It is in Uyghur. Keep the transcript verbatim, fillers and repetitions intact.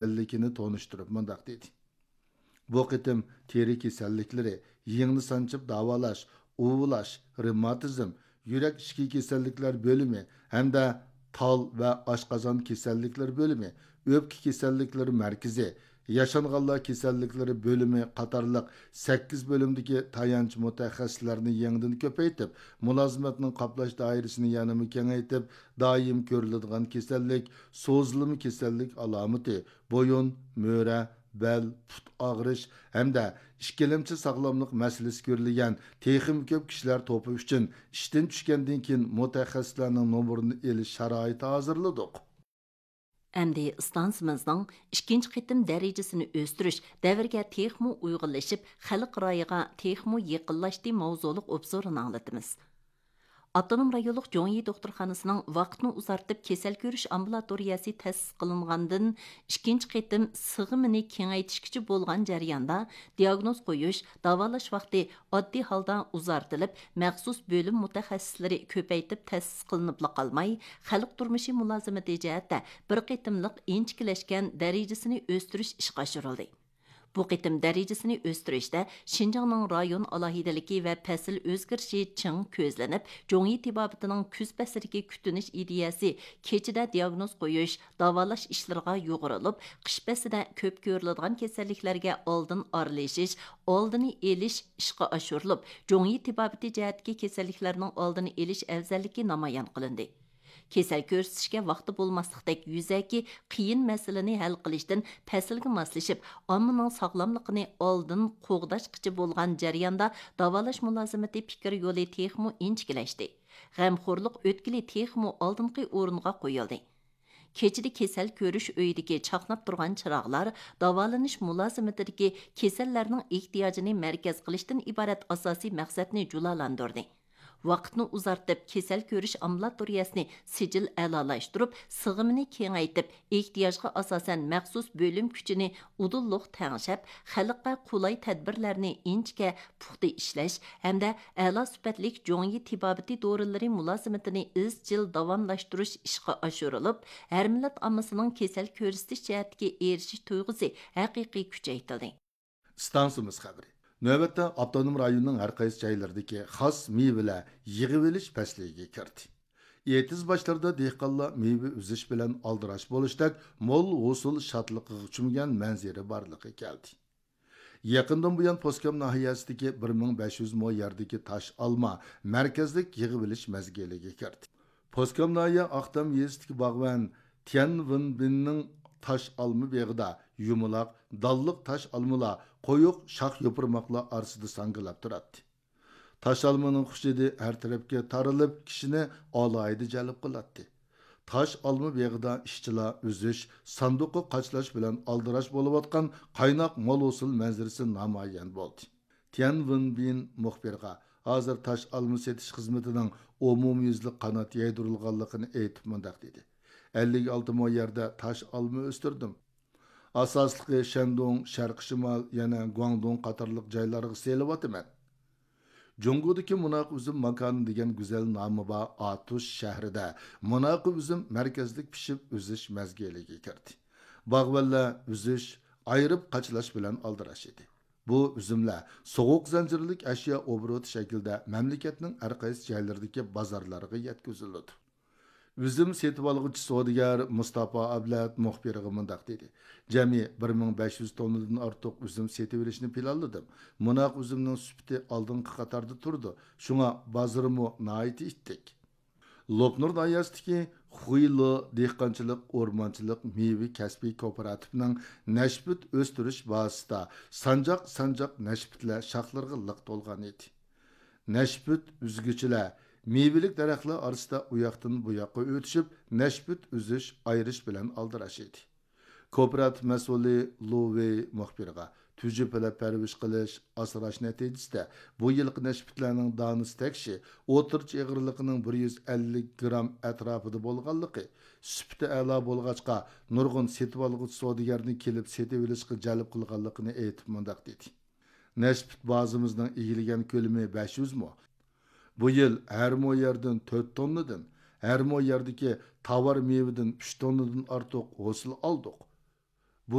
كېسەللىكىنى تونۇشتۇرۇپ مۇنداق دېدى: بۇ قېتىم تېرە كېسەللىكلىرى، يىڭنە سانچىپ داۋالاش، ئۇۋۇلاش، رېماتىزم، يۈرەك ئىچكى كېسەللىكلەر بۆلۈمى ھەمدە تال ۋە ئاشقازان كېسەللىكلىرى بۆلۈمى، ئۆپكە كېسەللىكلىرى مەركىزى، ياشانغانلار كېسەللىكلىرى بۆلۈمى قاتارلىق سەككىز بۆلۈمدىكى تايانچ مۇتەخەسسىسلەرنى يېڭىدىن كۆپەيتىپ، مۇلازىمەتنىڭ قاپلاش دائىرىسىنى يەنىمۇ كېڭەيتىپ، دائىم كۆرۈلىدىغان كېسەللىك، سوزۇلما كېسەللىك ئالامىتى، بويۇن، مۈرە، بەل، پۇت ئاغرىش ھەمدە ئىككىلەمچى ساغلاملىق مەسىلىسى كۆرۈلگەن تېخىمۇ كۆپ كىشىلەر توپى ئۈچۈن ئىشتىن چۈشكەندىن كېيىن مۇتەخەسسىسلەرنىڭ نومۇرىنى ئېلىش شارائىتى ھازىرلىدۇق. ئەمدى ئىستانسىمىزنىڭ ئىككىنچى قېتىم دەرىجىسىنى ئۆستۈرۈش، دەۋرگە تېخىمۇ ئۇيغۇنلىشىپ، خەلق رايىغا تېخىمۇ يېقىنلاشتى ماۋزۇلۇق ئوبزورىنى ئاڭلىتىمىز. ئاپتونوم رايونلۇق جوڭيى دوختۇرخانىسىنىڭ ۋاقىتنى ئۇزارتىپ كېسەل كۆرۈش ئامبۇلاتورىيەسى تەسىس قىلىنغاندىن ئىككىنچى قېتىم سىغىمىنى كېڭەيتىشكىچە بولغان جەرياندا دىئاگنوز قويۇش، داۋالاش ۋاقتى ئاددىي ھالدا ئۇزارتىلىپ، مەخسۇس بۆلۈم مۇتەخەسسىسلىرى كۆپەيتىپ تەسىس قىلىنىپلا قالماي، خەلق تۇرمۇشى مۇلازىمىتى جەھەتتە بىر قېتىملىق ئىنچىكىلەشكەن دەرىجىسىنى ئۆستۈرۈش ئىشقا ئاشۇرۇلدى. بۇ قېتىم دەرىجىسىنى ئۆستۈرۈشتە شىنجاڭنىڭ رايون ئالاھىدىلىكى ۋە پەسىل ئۆزگىرىشى چىڭ كۆزلىنىپ، جوڭيى تېبابىتىنىڭ كۈز پەسلىدىكى كۈتۈنۈش ئىدىيەسى كېچىدە دىئاگنوز قويۇش، داۋالاش ئىشلىرىغا يۇغۇرۇلۇپ، قىش پەسلىدە كۆپ كۆرۈلىدىغان كېسەللىكلەرگە ئالدىن ئارىلىشىش، ئالدىنى ئېلىش ئىشقا ئاشۇرۇلۇپ، جوڭيى تېبابىتى جەھەتتىكى كېسەللىكلەرنىڭ ئالدىنى ئېلىش ئەۋزەللىكى نامايان قىلىندى. كېسەل كۆرسىتىشكە ۋاقتى بولماسلىقتەك يۈزەكى قىيىن مەسىلىنى ھەل قىلىشتىن پەسىلگە ماسلىشىپ، ئاممىنىڭ ساغلاملىقىنى ئالدىن قوغداشقىچە بولغان جەرياندا داۋالاش مۇلازىمىتى پىكىر يولى تېخىمۇ ئىنچىكىلەشتى. غەمخورلۇق ئۆتكىلى تېخىمۇ ئالدىنقى ئورۇنغا قويۇلدى. كېچىدە كېسەل كۆرۈش ئۆيىدىكى چاقناپ تۇرغان چىراغلار داۋالىنىش مۇلازىمىتىدىكى كېسەللەرنىڭ ئېھتىياجىنى مەركەز قىلىشتىن ئىبارەت ئاساسىي مەقسەتنى جۇلالاندۇردى. ۋاقىتنى ئۇزارتىپ، كېسەل كۆرۈش ئامبۇلاتورىيەسىنى سىجىل ئەلالاشتۇرۇپ، سىغىمىنى كېڭەيتىپ، ئېھتىياجغا ئاساسەن مەخسۇس بۆلۈم كۈچىنى ئۇدۇللۇق تەڭشەپ، خەلققە قولاي تەدبىرلەرنى ئىنچىكە، پۇختا ئىشلەش ھەمدە ئەلا سۈپەتلىك جوڭيى تېبابىتى دورىلىرى مۇلازىمىتىنى ئىزچىل داۋاملاشتۇرۇش ئىشقا ئاشۇرۇلۇپ، ھەر مىللەت ئاممىسىنىڭ كېسەل كۆرسىتىش جەھەتتىكى ئېرىشىش تۇيغۇسى ھەقىقىي كۈچەيتىلدى. ئىستانسىمىز خەۋىرى. نۆۋەتتە ئاپتونوم رايوننىڭ ھەر قايسى جايلىرىدىكى خاس مېۋىلەر يىغىۋېلىش پەسلىگە كىردى. ئېتىز باشلىرىدا دېھقانلار مېۋە ئۈزۈش بىلەن ئالدىراش بولۇشتەك مول ھوسۇل شادلىقىغا چۆمگەن مەنزىرە بارلىققا كەلدى. يېقىندىن بۇيان، پوسكام ناھىيەسىدىكى بىر مىڭ بەش يۈز مو يەردىكى تاش ئالما مەركەزلىك يىغىۋېلىش مەزگىلىگە كىردى. پوسكام ناھىيە ئاقتام يېزىسىدىكى باغۋەن تيەن ۋېنبىننىڭ تاش ئالما بېغىدا يۇمىلاق، دانلىق تاش ئالمىلار، قويۇق شاخ يوپۇرماقلار ئارىسىدا ساڭگىلاپ تۇراتتى. تاش ئالمىنىڭ خۇش ھىدى ھەر تەرەپكە تارىلىپ، كىشىنى ئالاھىدە جەلپ قىلاتتى. تاش ئالما بېغىدا ئىشچىلار ئۈزۈش، ساندۇققا قاچىلاش بىلەن ئالدىراش بولۇۋاتقان قايناق مول ھوسۇل مەنزىرىسى نامايان بولدى. تيەن ۋېنبىن مۇخبىرغا ھازىر تاش ئالما سېتىش خىزمىتىنىڭ ئومۇميۈزلۈك قانات يايدۇرۇلغانلىقىنى ئېيتىپ مۇنداق دېدى: ئەللىك ئالتە مو يەردە تاش ئالما ئۆستۈردۈم. ئاساسلىقى شەندۇڭ، شەرقىي شىمال، يەنە گۇاڭدۇڭ قاتارلىق جايلارغا سېلىۋاتىمەن. جۇڭگودىكى مۇناق ئۈزۈم ماكانى دېگەن گۈزەل نامى بار ئاتۇش شەھىرىدە مۇناق ئۈزۈم مەركەزلىك پىشىپ ئۈزۈش مەزگىلىگە كىردى. باغۋەنلەر ئۈزۈش، ئايرىپ قاچىلاش بىلەن ئالدىراش ئىدى. بۇ ئۈزۈملەر سوغۇق زەنجىرلىك ئەشيا ئوبوروتى شەكلىدە مەملىكەتنىڭ ھەر قايسى جايلىرىدىكى بازارلارغا يەتكۈزۈلىدۇ. ئۈزۈم سېتىۋالغۇچى سودىگەر مۇستاپا ئابلەت مۇخبىرغا مۇنداق دېدى: جەمئىي بىر مىڭ بەش يۈز توننىدىن ئارتۇق ئۈزۈم سېتىۋېلىشنى پىلانلىدىم. مۇناق ئۈزۈمنىڭ سۈپىتى ئالدىنقى قاتاردا تۇرىدۇ، شۇڭا بازىرىمۇ ناھايىتى ئىتتىك. لوپنۇر ناھىيەسىدىكى خۇيلو دېھقانچىلىق ئورمانچىلىق مېۋە كەسپىي كوپىراتىپىنىڭ نەشپۈت ئۆستۈرۈش بازىسىدا سانجاق سانجاق نەشپۈتلەر شاخلىرىغا لىق تولغان ئىدى. نەشپۈت ئۈزگۈچىلەر مېۋىلىك دەرەخلەر ئارىسىدا ئۇياقتىن بۇياققا ئۆتۈشۈپ، نەشپۈت ئۈزۈش، ئايرىش بىلەن ئالدىراش ئىدى. كوپىراتىپ مەسئۇلى لۇ ۋېي مۇخبىرغا، تۈجۈپىلەپ پەرۋىش قىلىش، ئاسراش نەتىجىسىدە بۇ يىلقى نەشپۈتلەرنىڭ دانىسى تەكشى ئوتتۇرىچە ئېغىرلىقىنىڭ بىر يۈز ئەللىك گرام ئەتراپىدا بولغانلىقى، سۈپىتى ئەلا بولغاچقا، نۇرغۇن سېتىۋالغۇچى سودىگەرنى كېلىپ سېتىۋېلىشقا جەلپ قىلغانلىقىنى ئېيتىپ مۇنداق دېدى: نەشپۈت بازىمىزنىڭ ئىگىلىگەن كۆلىمى بەش يۈز مو. بۇ يىل ھەر مو يەردىن تۆت توننىدىن، ھەر مو يەردىكى تاۋار مېۋىدىن ئۈچ توننىدىن ئارتۇق ھوسۇل ئالدۇق.